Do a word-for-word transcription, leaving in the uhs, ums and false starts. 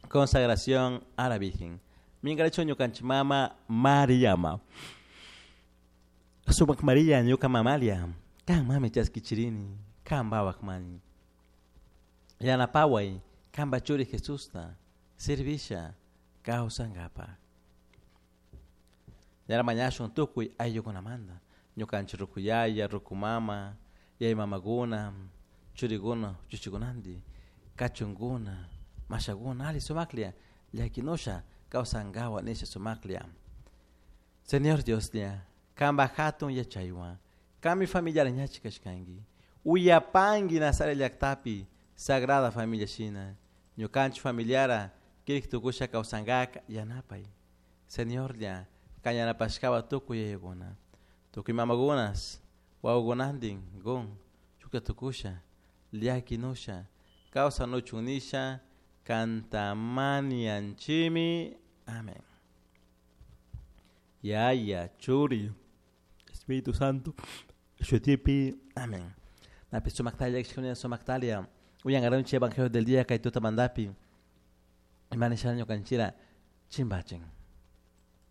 Consagración a la Virgen. Minkarichun ñukanchik mama Mariama. Sumak Maria ñuka mamalia. Kan mami chaskichirini. Kan wawak mani. Yanapaway kanpa churi Jesusta servisha kawsankapak. Ñara mañashun tukuy ayllukunamanta ñukanchik ruku yaya, ruku mama, yaya mamakuna, churikuna, chuchikunanti, kachunkuna, mashakuna alli sumaklla llakinusha kawsankawa nisha sumaklla. Señor Dioslla, kanpak hatun yachaywan, kanmi familiar ñachik kashkanki, uyapanki Nazaret llaktapi Sagrada Familia shina, ñukanchik familiara kirik tukusha kawsankaka yanapay. Señorlla, kan yanapashkawa tukuy yayakuna, tukuy mamakunas, wawakunantin gun shukta tukusha, llakinusha, kawsanuchun nisha, kantamanianchimi. Amén. Yaya, Churi, Espíritu Santo, shutipi. Amén. Napi sumaktalia, sumaktalia. Uyangaronchi Evangelio del día kay tutamantapi. Ima nisha ñukanchira chimbachin.